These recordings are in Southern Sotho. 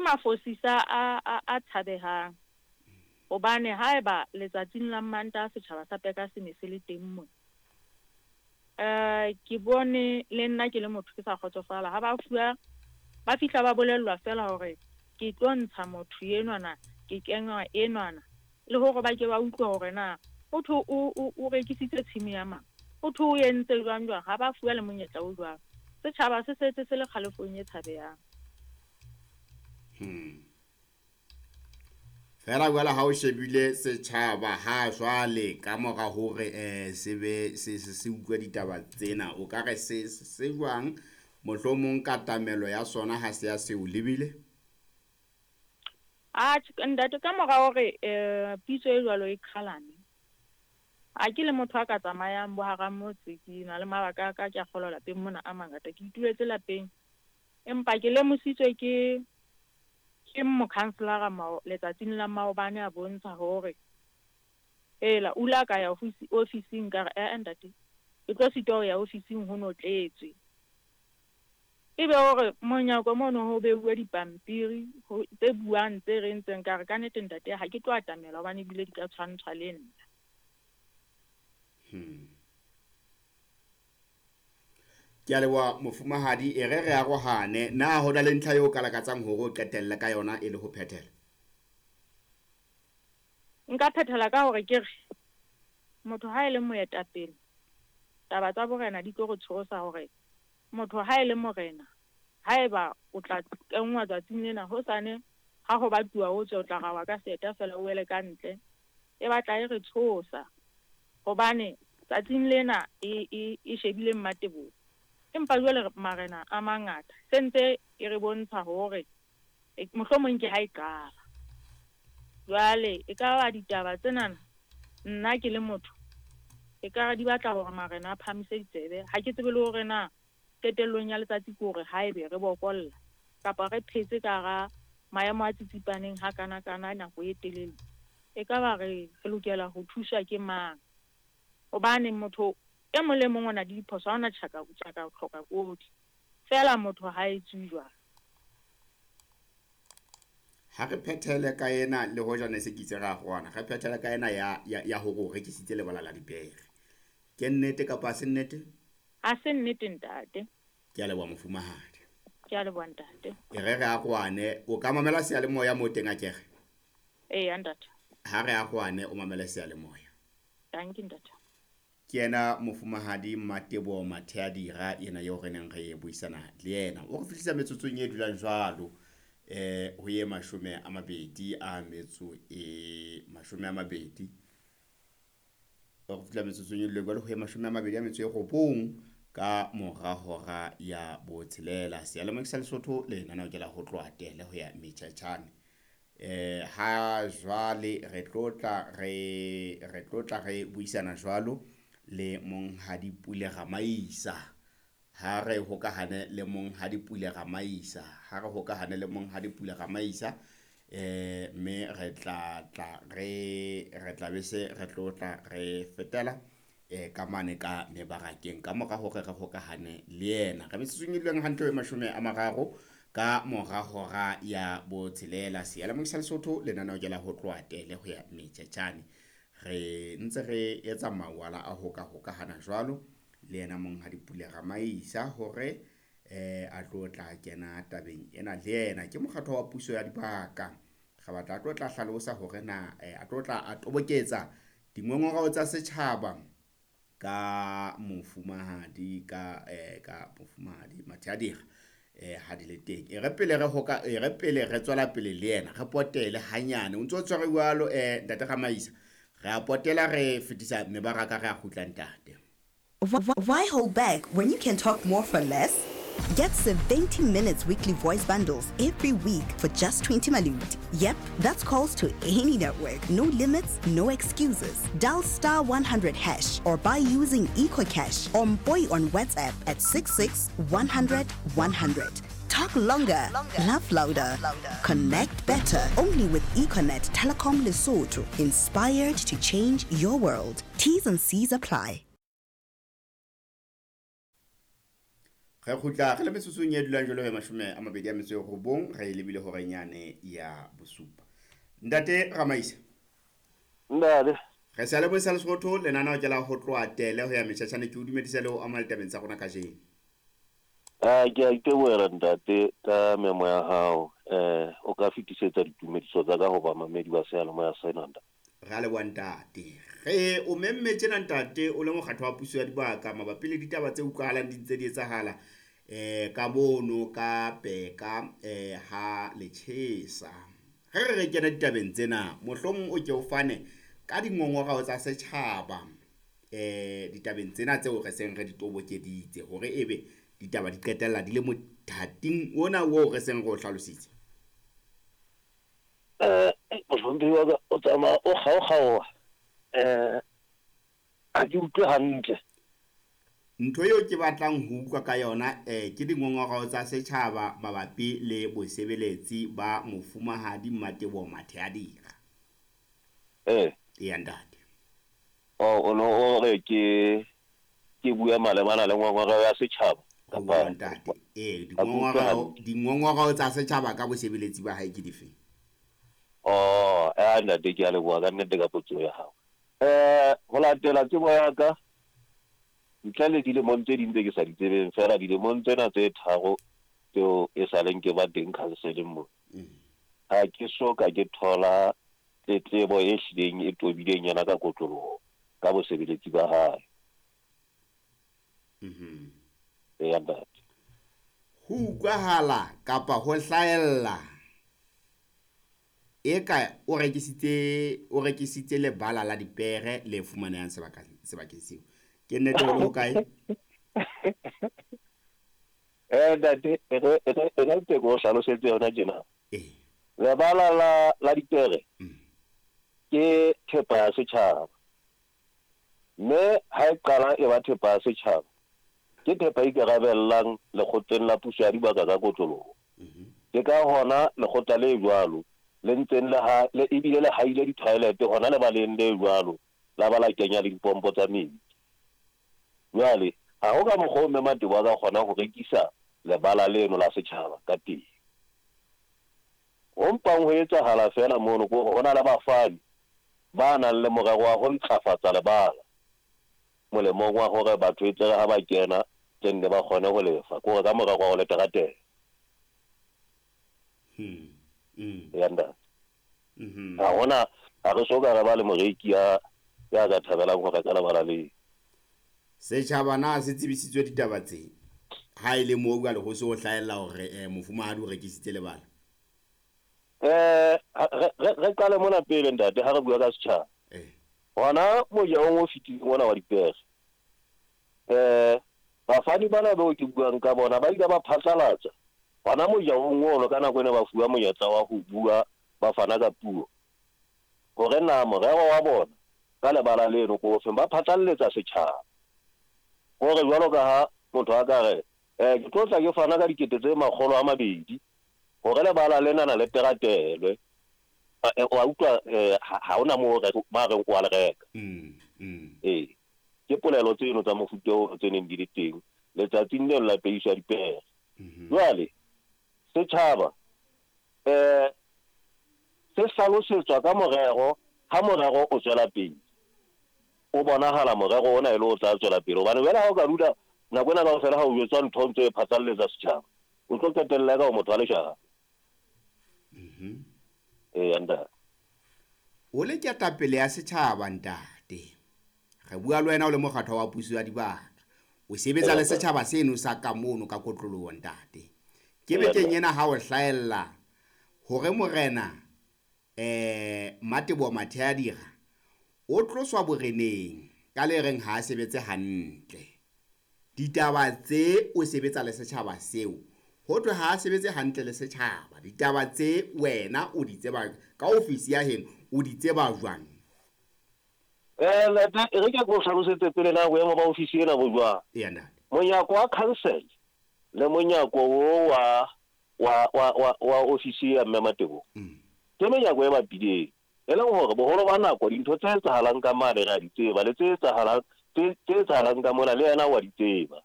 mafosisa a, a, a tshabehang. Hobane haeba letsatsing la Mmantaha setjhaba sa Peka se ne se le teng mona, um ke bone le nna ke le motho ke sa kgotsofala ha ba fuwa, ba fihla ba bolellwa feela hore ke tlo ntsha motho enwana, ke kenywa enwana, le hore ba ke ba utlwe hore na ho thwe o, o, o rekisitse tshimo ya mang, ho thwe o entse jwang jwang, ha ba fuwa le monyetla o jwalo. Setjhaba se setse se le kgalefong e tshabehang. Fela jwale ha o shebile setjhaba ha jwale ka mora hore se be se se utlwe ditaba tsena, o ka re se se jwang? Mohlomong katamelo ya sona ha se ya se o lebile? Atjhe, ntate, ka mora hore pitso e jwalo e qhalane, ha ke le motho a ka tsamayang bo hara motse, ke na le mabaka a ka, ke a kgolwa lapeng mona a mangata, ke ituletse lapeng. Empa ke lemositswe ke ke mokhanselara mao letsatsing la maobane a bontsha hore hela o ile a ka ya ofising, ka re eh ntate, ke tlo sitwa ho ya ofising ho no tletswe. Ebe hore monyako mono ho beuwe dipampiri tse buang tse reng tseng, ka re ka nnete ntate ha ke tlo atamela hobane ebile di ka tshwantshwa le nna. Ke a leboha mofumahadi, e re re arohane. Na ho na le ntlha eo o ka lakatsang hore o qetelle ka yona e le ho phethela? Nka phethela ka hore ke re motho ha e le moetapele, taba tsa borena di tlo re tshosa hore motho ha e le morena, haeba o tla kenngwa tsatsing lena, hosane ha ho batuwa o tswe, o tla rawa ka seeta feela o wele ka ntle. E batla e re tshosa hobane tsatsing lena e, e, e shebile Mmateboho. Empa jwale marena a mangata se ntse e re bontsha hore mohlomong ke ha e qala. Jwale e ka ba ditaba tsenana, nna ke le motho, e ka re di batla hore marena a phahamise ditsebe. Ha ke tsebe le hore na qetellong ya letsatsi ke hore haebe re bokolla kapa re phetse ka hara maemo a tsitsipaneng ha kana kana nako e telele, e ka ba re re lokela ho thuswa ke mang? Hobane motho e mong le mong o na le diphoso, ha hona tjhaka tjhaka hloka kodi. Feela motho ha etsuwe jwalo. Ha re phethele ka ena, le hoja ne se ke itse re arohana, re phethele ka ena ya, ya, ya hore o rekisitse lebala la dipere. Ke nnete kapa ha se nnete? Ha se nnete ntate. Ke a leboha mofumahadi. Ke a leboha ntate. E re re arohane, o ka mamela seyalemoya moo teng akere? Eya ntate. Ha re arohane o mamele seyalemoya. Dankie ntate. Ke yena mofumahadi Mmateboho Matheadira yena eo re neng re buisana le yena. O re fihlisa metsotsong e dulang jwalo ho ye 21, o re fihla metsotsong e dulang jwalo ho ye 29 ka mora hora ya botshelela. Seyalemoya sa Lesotho lenaneo ke la ho tloha tele ho ya metjhetjhane. Ha jwale re tlotla re re tlotla re buisana jwalo le monghadi Pule Ramaisa. Ha re hokahane le monghadi Pule Ramaisa, ha re hokahane le monghadi Pule Ramaisa, mme re tla tla re re tla be se re tlotla re fetela ka mane ka mebarakeng ka mora hore re hokahane le yena. Re metsotsong e duleng hantle ho 30 ka mora hora ya botshelela. Seyalemoya sa Lesotho lenaneo ke la ho tloha tele ho ya metjhetjhane. Re ntse re etsa mawala a ho ka hokahana jwalo le yena monghadi Pule Ramaisa hore a tlo tla kena tabeng ena le yena. Ke mokgatlo wa puso ya dibaka. Re batla a tlo tla hlalosa hore na a tlo tla a toboketsa dingongorao tsa setjhaba ka mofumahadi ka ka mofumahadi Matheadira ha di le teng. E re pele re hoka, e re pele re tswela pele le yena, re potele hanyane. O ntso tshwere jwalo ntate Ramaisa. Re a potela re fetisa mebaraka re a kgutla ntate. Why hold back when you can talk more for less? Get 70 minutes weekly voice bundles every week for just 20 malut. Yep, that's calls to any network. No limits, no excuses. Dial star 100 hash or buy using EcoCash or Mboy on WhatsApp at 66 100 100. Talk longer, laugh louder, connect better. Only with Econet Telecom Lesotho. Inspired to change your world. T's and C's apply. Re kgutla re le metsotsong e dulang jwalo 29 re lebile horeng yane ya bosupa. Ntate Ramaisa. Ntate. Re sa le boisa Lesotho lenaneo ke la ho tloha tele ho ya metjhatjhane ke o dumedisa le ho amohela tabeng tsa rona kajeno. Ke a itebohela ntate ka memo ya hao. O ka fetisetsa ditumediso tsa ka ho bamamedi ba seyalemoya sena ntate. Ra leboha ntate. Re o memme tjena ntate o le mokgatlo wa puso ya dibaka mabapi le ditaba tse utlwahalang di ntse di etsahala ka mono ka Peka ha Lechesa. Re re kena ditabeng tsena mohlomong o ke o fane ka dingongorao tsa setjhaba ditabeng tsena tseo re seng re di tobokeditse hore ebe ditaba di qetella di le mothating ona oo re seng re o hlalositse. Mohlomphehi wa ka o tsamaya o kgaokgaoha, ha ke utlwe hantle. Ntho eo ke batlang ho utlwa ka yona ke dingongorao tsa setjhaba mabapi le bosebeletsi ba mofumahadi Mmateboho Matheadira. Eya ntate. O no o re ke bua malebana le ngongoreo ya setjhaba kapa ntate? Dingongorao tsa setjhaba ka bosebeletsi ba hae ke dife? Ntate ke a leboha ka nnete ka potso ya hao. Ho latela tsebo ya ka ntle le dilemong tse ding tse ke sa di tsebeng fela dilemong tsena tse tharo tseo e sa leng ke ba teng counseling mo. Ha ke so ka ke thola tletlebo e hlileng e tobileng yena ka kotloloho ka bosebeletsi ba hae. Eya ntate. Ho utlwahala kapa ho hlahella eka o rekisitse lebala la dipere le fumanehang sebakeng seo. Ke nnete hore ho kae? Ntate, e re ke o hlalosetse yona tjena. Lebala la dipere ke thepa ya setjhaba. Mme ha e qala e ba thepa ya setjhaba, ke thepa e ikarabellang lekgotleng la puso ya dibaka ka kotloloho. Ke ka hona lekgotla le jwalo le ntseng le ebile le haile di-toilet hona lebaleng le jwalo la ba la kenya le dipompo tsa metsi. Jwale ha ho ka mokgwa o mme Mateboho a ka kgona ho rekisa lebala leno la setjhaba ka teng. Ho mpang ho etsahala fela mono ke hore ho na le bafani ba nang le morero wa ho ntlafatsa lebala molemong wa hore batho e tlere ha ba kena tse nne ba kgone ho lefa, ke hore ka morero wa ho le teratela. Ya ntate. Ha hona ha re so ka re ba le moreki ya ka thabelang ho reka lebala leo. Setjhaba na se tsebisitswe ditaba tse ha e le moo jwale ho se ho hlahella hore mofumahadi o rekisitse lebala? Re qale mona pele ntate ha re bua ka setjhaba. Hona mojahong o fetileng ona wa dipere, bafani bana bao ke buang ka bona ba ile ba phatlalatsa hona mojahong ono ka nako ene ba fuwa monyetla wa ho bua ba fana ka puo hore na morero wa bona ka lebala leno ko ofeng. Ba phatlalletsa setjhaba hore jwalo ka ha motho a ka re ke tlo tla ke fana ka 200,000 hore lebala lena le teratelwe. Wa utlwa, ha hona moo ba reng o a le reka. Ke polelo tseno tsa mofuta oo tse neng di le teng letsatsing leo la peiso ya dipere. Jwale setjhaba se hlalosetswa ka morero ha morero o tswela pele. O bonahala morero ona e le o tla tswela pele hobane jwale ha o ka dula nako ena kaofela ha o jwetswa ntho ntse e phatlalletsa setjhaba, o tlo qetella ka o motho wa leshano. Ntate. O le ketapele ya setjhaba ntate. Re bua le wena o le mokgatlo wa puso ya dibaka. O sebetsa le setjhaba seno sa ka mono ka kotloloho ntate. Ke bekeng ena ha o hlahella hore morena Mmateboho Matheadira o tloswa boreneng ka le reng ha a sebetse hantle. Ditaba tse o sebetsa le setjhaba seo ho thwe ha a sebetse hantle le setjhaba. Ditaba tse wena o di tseba ka ofisi ya heno o di tseba jwang? Ntate, re ke go hlalosetse pele na boemo ba ofisi ena bo jwang. Eya ntate. Monyako wa council le monyako o wa ofisi ya Mme Mateboho ke menyako e bapileng, e leng hore boholo ba nako dintho tse etsahalang ka mane re a di tseba le tse etsahalang ka mona le yena wa di tseba.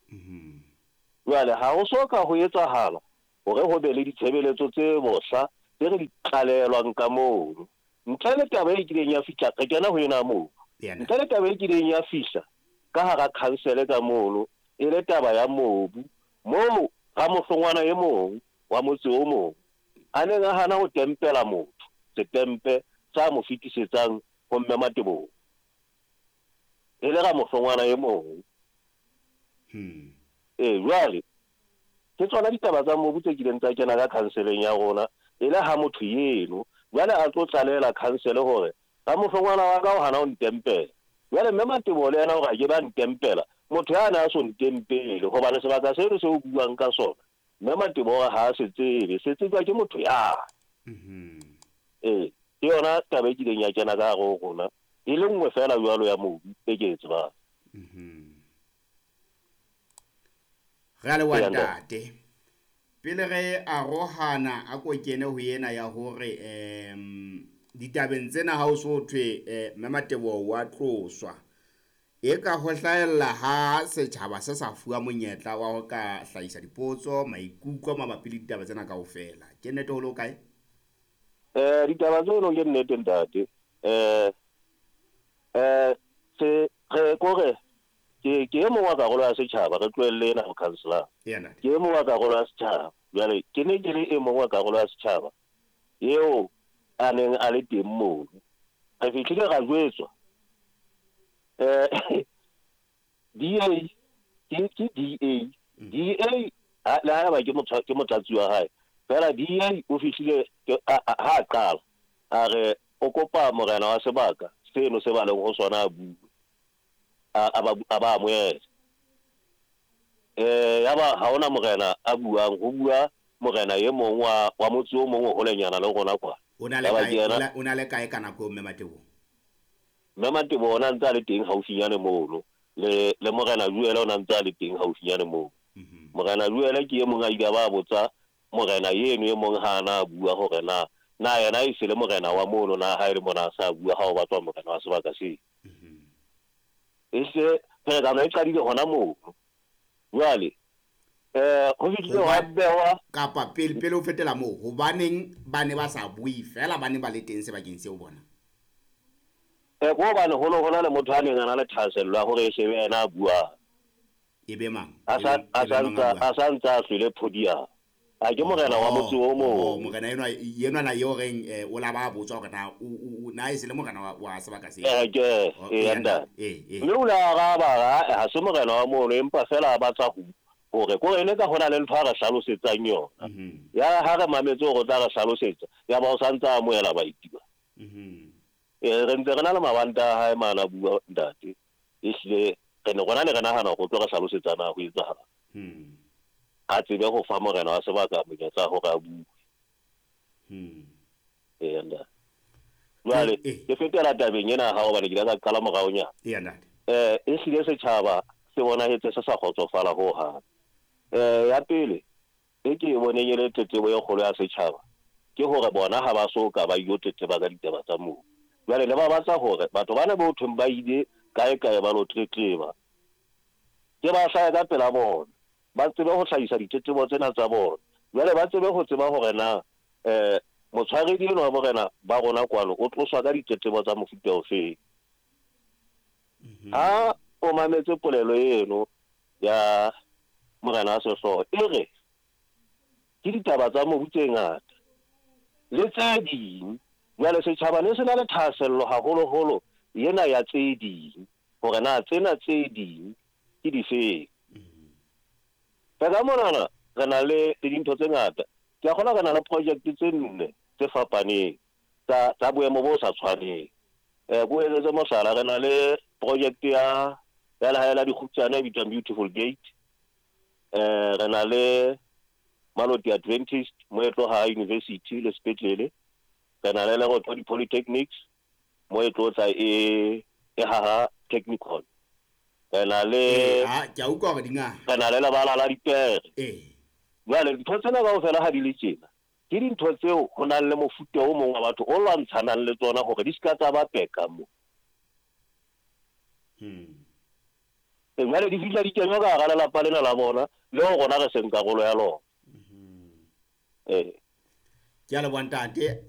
Jwale ha ho so ka ho etsahala hore ho be le ditshebeletso tse bohla tse re di tlalelwang ka mono. Ntle le taba e kileng ya fihla, re kena ho ena mono. Ntle le taba e kileng ya fihla ka hara khansele ka mono, e le taba ya mobu, moo ramohlongwana e mong wa motse o mong a neng a hana ho tempela motho setempe sa mo fetisetsang ho Mme Mateboho. E le ramohlongwana e mong. Ee, jwale ke tsona ditaba tsa mobu tse kileng tsa kena ka khanseleng ya rona, e le ha motho eno jwale a tlo tlalehela khansele hore ramohlongwana wa ka o hana ho ntempela. Jwale Mme Mateboho le yena o re a ke be a ntempela, motho yane a so ntempele, hobane sebaka seno seo o buang ka sona, Mme Mateboho o re ha a se tsebe, se tsejwa ke motho yane. Ee, ke yona taba e kileng ya kena ka hare ho rona, e le nngwe feela jwalo ya mobu e ke e tsebang. Re a leboha ntate. Pele re arohana a ko kene ho ena ya hore um ditabeng tsena ha o so thwe eh, Mme Mateboho wa tloswa e ka ho hlahella ha setjhaba se sa fuwa monyetla wa ho ka hlahisa dipotso maikutlo mabapi le ditaba tsena kaofela. Ke nnete ho le ho kae? Eh ditaba tseno ke nnete ntate. Eh eh se re kore Ke, ke e mong wa karolo ya setjhaba, re tlohelle ena mokhanselara. Ke e mong wa karolo ya setjhaba. Jwale ke ne ke le e mong wa karolo ya setjhaba eo a neng a le teng mono. Re fihlile ra jwetswa eh DA ke ke DA DA ha le haeba ke motho ke motlatsi wa hae fela DA o fihlile ha a qala a re o kopa morena wa sebaka seno se ba leng ho sona a bue. A, a ba, a ba amohela. Eh, yaba ha hona morena a buang, ho bua morena e mong wa, wa motse o mong o holenyana le rona kwa. O na le Yaba kae, ke o yena na, o na le kae ka nako eo Mme Mateboho? Mme Mateboho o na ntse a le teng haufinyane mono, le, le morena Joele o na ntse a le teng haufinyane moo. Morena Joele ke e mong a ile a ba a botsa morena eno e mong ha a na a bua hore na, na yena e se le morena wa mono na ha e le mona a sa bua ha ho batlwa morena wa sebaka seo. Ehlile pherekano e qadile hona mono. Jwale eh ho fihlile hwa behwa kapa pele pele o fetela moo, hobaneng ba ne ba sa bue feela ba ne ba le teng sebakeng seo bona? Eh ko hobane ho ne ho na le motho a neng a na le thahasello ya hore e se be yena a buang. E be mang? A sa E a be sa mang a ntsa buang? a sa ntsa a hlwele podium. A ke morena wa motse Oh, o oh, mong. morena enwa enwana eo reng eh, o la ba botswa hore na o o na e se le morena wa, wa sebaka seo. Eh ke Oh, eh eya ntate. ntate. Eh, eh. Mme o ile a araba a re, ha se morena wa mono empa fela a batla ho hore ko ene ka hona le ntho a re hlalosetsang yona. Ya ha re mametse hore o tla re hlalosetsa, ya ba o sa ntsa amohela baeti ba. Eh re ntse re na le mabanta a hae mana bua ntate. Ehlile re ne rona ne re nahana hore o tlo re hlalosetsa na ho etsahala. A tsebe ho fa morena wa sebaka monyetla hore a bue. Eya ntate. Jwale ke fetela tabeng ena ya hao hobane ke ile ka qala moraonyana. Eya ntate. Eh ehlile setjhaba se bonahetse se sa kgotsofala ho hang. Eh ya pele e ke e boneng e le tletlebo e kgolo ya setjhaba ke hore bona ha ba so ka ba ilo tletleba ka ditaba tsa mobu. Jwale ne ba batla hore batho bana bo thweng ba ile kae kae ba lo tletleba, ke ba hlahe ka pela bona, ba tsebe ho hlahisa ditletlebo tsena tsa bona. Jwale ba tsebe ho tseba hore na eh motshwaredi enwa wa morena ba rona kwano o tloswa ka ditletlebo tsa mofuta ofeng. Ha o mametse polelo eno ya morena wa sehlooho e re ke ditaba tsa mobu tse ngata le tse ding. Jwale setjhaba ne se na le thahasello haholoholo ena ya tse ding, hore na tsena tse ding ke difeng. Ka monana re na le dintho tse ngata. Ke a kgolwa re na le project tse nne tse fapaneng tsa tsa boemo bo sa tshwaneng. Eh ko etsetse mohlala, re na le project ya ya lehae la dikgutsana e bitswang Beautiful Gate. Eh re na le Maloti Adventist mo e tloha university le sepetlele. Re na le Lerothodi Polytechnics mo e tlo tla e e haha technicon. Re na le Ha ke a utlwa hore di ngata. Re na le lebala la dipere. Eh. Jwale dintho tsena kaofela ha di le tjena, ke dintho tseo ho nang le mofuta o mong wa batho o lwantshanang le tsona hore di ska tsa ba peka mo. Jwale di fihla di kenywa ka hara lelapa lena la bona leo rona re seng karolo ya lona. Ee. Ke a leboha ntate.